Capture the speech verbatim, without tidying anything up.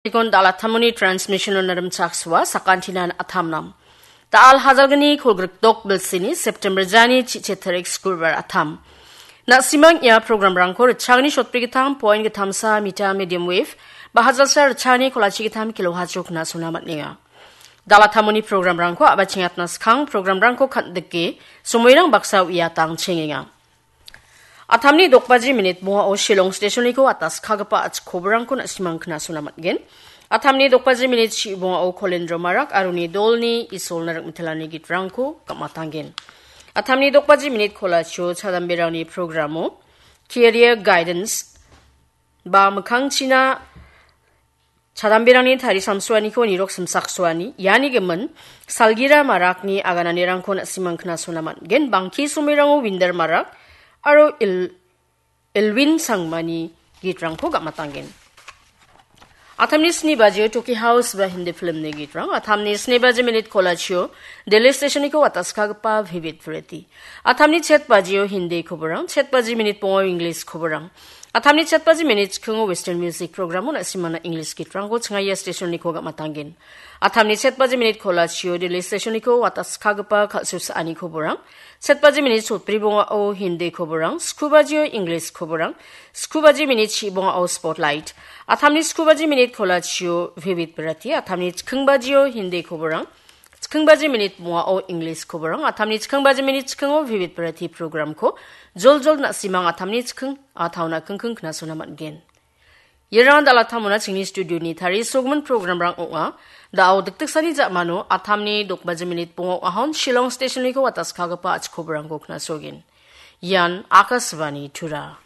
Ikon dal·attamoni transmission-o narimchaksoa sakantinan atamnam. Dal hajalgni kolgrikdok bilsini September jani chiche tarik skurbar atam. Na·simang ia programrangko ritchagni shotbrigittam point gittamsa mita medium wave, ba hajalsa ritchagni kolachi gittam kilohertz-o knasona man·enga. Dal·attamoni programrangko a·bachengatna skang programrangko kan·dike somoirang baksa uiatang chengenga. Atamni dokbaji minit bongao Shillong stationiko ataskagipa a·chik koborangko na·simang knasona man·gen. Atamni dokbaji minit chi bongao Kolendro Marak aroni dolni Isolna rik·mitelani gitrangko gam·atanggen. Atamni dokbaji minit kolachio chadamberangni programo Career Guidance ba mikkangchina chadamberangni tarisamsoaniko nirok simsaksoani, iani gimin Salgira Marakni agananirangko na·simang knasona man·gen. Bangki somoirango Winder Marak aro Il-, Elwin Sangmani gitrangko gam·atanggen. Atamni sni bajio Toki House ba Hindi filmni gitrang, atamni sni baji minit kolachio Delhi stationiko ataskagipa Vivid Bharati. Atamni chet bajio Hindi koborang, chet baji minit bongao English koborang. Atamni chet baji minit chikingo Western Music Programo na·simana English gitrangko chingaia stationiko gam·atanggen. Atamni chet baji minit kolachio Delhi stationiko ataskagipa kal·susaani koborang. Chet baji minit sotbri bongao Hindi koborang, sku bajio English koborang, sku baji minit chi bongao Spotlight. Atamni sku baji minit kolachio Vivid Bharati, atamni chiking bajio Hindi koborang, chiking baji minit bongao English koborang, atamni chiking baji minit chikingo Vivid Bharati programko joljol na·simang atamni chiking a·taona kingking knasona man·gen. Iarang dal·attamona chingni studioni tarisogimin programrang ong·a. Da·o dikdiksani ja·mano atamni dokbaji minit bongao ahon Shillong stationiko ataskagipa a·chik koborangko knasogen. Ian Akashvani Tura.